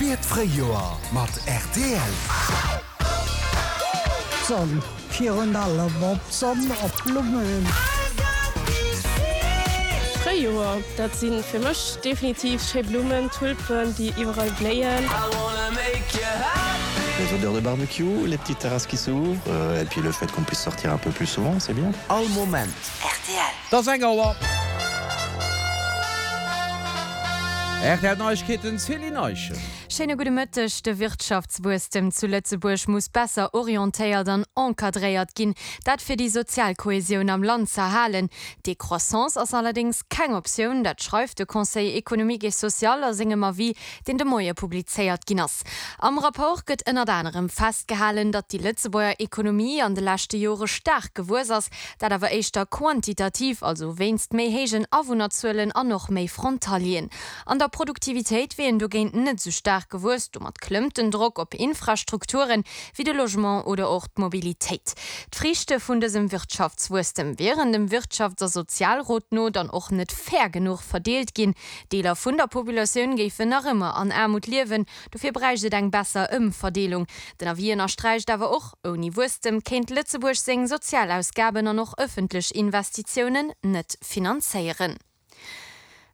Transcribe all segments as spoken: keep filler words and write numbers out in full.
Fir d'Fréijoer mat rtl. D'Sonn, virun allem op d'Sonn, op d'Blummen. Fréijoer, dat si fir mech definitiv schéi Blummen, Tulpen, déi iwwerall bléien. Les odeurs de barbecue, les petites terrasses qui s'ouvrent, euh, et puis le fait qu'on puisse sortir un peu plus souvent, c'est bien. All Moment. Et ass eng Auer. Rtl Neiegkeeten, Céline Eischen. Schéine gudde Mëtteg. De Wirtschaftswuesstem zu Lëtzebuerg muss besser orientéiert an encadréiert ginn. Dat fir déi sozial Kohäsioun am Land z'erhalen. Décroissance ass allerdéngs keng Optioun, dat schreift de Conseil économique et social a sengem Avis, deen de Moie publizéiert ginn ass. Am Rapport gëtt ënnert anerem festgehalen, datt déi Lëtzebuerger Ekonomie an de leschte Jore staark gewuess ass, dat awer éischter quantitativ, also wéinst méi héijen Awunnerzuelen an och méi Frontalieren. An der Produktivitéit wier een dogéint net esou staark gewuess. Domat klëmmt den Drock op Infrastrukturen, wéi de Logement oder och d'Mobilitéit. D'Friichte vun dësem Wirtschaftswuesstem wieren dem Wirtschafts a Sozialrot no dann och net fair genuch verdeelt ginn. Deeler vun der Populatioun géifen nach ëmmer an Aarmut liewen. Dofir bräicht et eng besser Ëmverdeelung. Den Avis ënnersträicht awer och, Ouni Wuesstem kéint Lëtzebuerg seng Sozialausgaben an och ëffentlech Investitiounen net finanzéieren.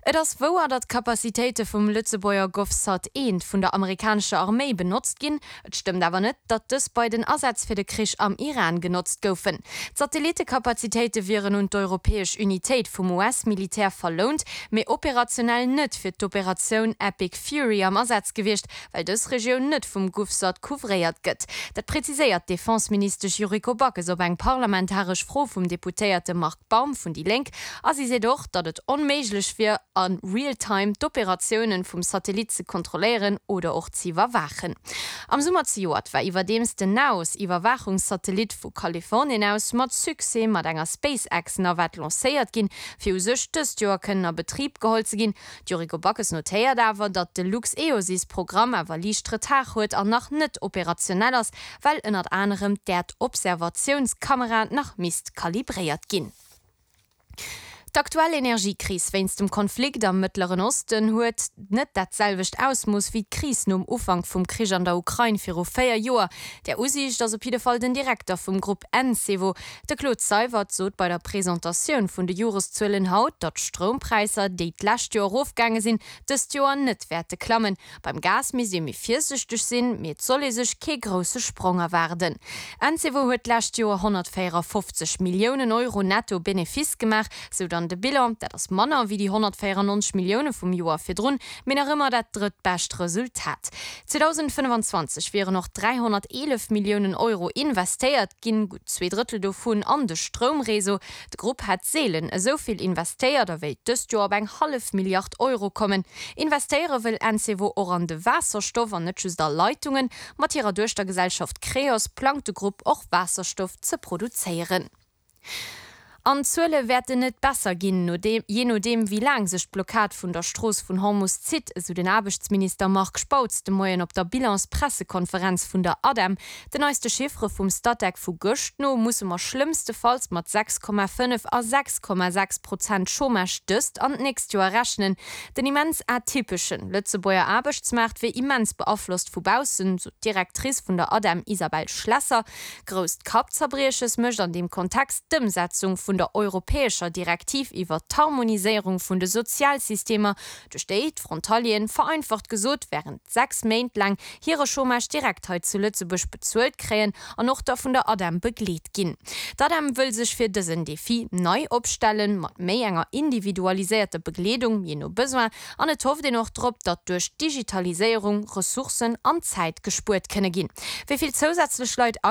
Et ass wouer, datt d'Capacitéite vum Lëtzebuerger GovSat eent vun der amerikanescher Arméi benotzt ginn. Et stëmmt awer net, datt dës bei den Asätz fir de Krich am Iran genotzt goufen. D'Satellittecapacitéite wieren un d'europäesch Unitéit vum U S-Militär verlount, mee operationell net fir d'Operatioun Epic Fury am Asaz gewiescht, well dës Regioun net vum GovSat couvréiert gëtt. Dat präziséiert d'Defenseministesch Yuriko Backes op eng parlamentaresch Fro vum Deputéierte Marc Baum vun déi Lénk. A si seet och, datt et onméiglech wier, a real time d'Operatiounen vum Satellit ze kontrolléieren oder och z'iwwerwaachen. Am Summer zejoert war iwwerdeems den NAOS-Iwwerwaachungssatellit vu Kalifornien aus mat Succès mat enger SpaceX-Navette lancéiert ginn, fir u sech dëst Joer kënnen a Betrib geholl ze ginn. D'Yuriko Backes notéiert awer, datt de LuxEOSys-Programm awer liicht Retard huet an nach net operationell ass, well ënnert anerem d'Äerdobservatiounskamera nach misst kalibréiert ginn. D'aktuell Energiekris wéinst dem Konflikt am Mëttleren Osten huet net dat selwecht Ausmooss wéi d'Kris nom Ufank vum Krich an der Ukrain viru véier Joer. Där Usiicht ass op jidde Fall den Direkter vum Grupp Encevo. De Claude Seywert sot bei der Presentatioun vun de Joreszuelen haut, datt d'Stroumpräisser, déi d'lescht Joer erofgaange sinn, dëst Joer net wäerte klammen. Beim Gas misst ee méi virsiichteg sinn, mee et soll ee sech kee grousse Sprong erwaarden. Encevo huet d'lescht Joer honnertvéierafofzeg Milliounen Euro netto Benefice gemaach, sou dann de Bilan. Dat ass manner wéi déi honnertvéierannonzeg Millioune vum Joer virdrun, mee nach ëmmer dat drëttbescht Resultat. zweedausendfënnefenzwanzeg wieren och dräihonnerteelef Milliounen Euro investéiert ginn, gutt zwee Drëttel dovun an de Stroumreseau. De Grupp hätt seelen esou vill investéiert a wéilt dëst Joer op eng hallef Milliard Euro kommen. Investéiere wëll Encevo och an de Waasserstoff an net just a Leitungen. Mat hirer Duechtergesellschaft Creos plangt de Grupp och Waasserstoff ze produzéieren. An d'Zuele wäerten net besser ginn, jee nodeem wéi laang sech d'Blockad vun der Strooss vun Hormus zitt, esou den Aarbechtsminister Marc Spautz de Moien op der Bilanspressekonferenz vun der ADEM. Den neiste Chiffere vum Statec vu gëscht no musse mer schlëmmstefalls mat sechs Komma fënnef a sechs Komma sechs Prozent Chômage dëst an d'nächst Joer rechnen. Den immens atypeschen Lëtzebuerger Aarbechtsmaart wier immens beaflosst vu baussen, sou d'Directrice vun der ADEM Isabelle Schlesser. Grousst Kappzerbrieches mécht an deem Kontext d'Ëmsetzung vun der europäescher Direktiv iwwer d'Harmoniséierung vun de Sozialsystemer, duerch déi d'Frontalieren, vereinfacht gesot, wärend sechs Méint laang hire Chômage direkt hei zu Lëtzebuerg bezuelt kréien an och da vun der ADEM begleet ginn. D'ADEM wëll sech fir dësen Defi nei opstellen, mat méi enger individualiséierter Begleedung, jee no Besoin, an et hofft een och drop, datt duerch d'Digitaliséierung Ressourcen an Zäit gespuert kënne ginn. Wéi vill zousätzlech Leit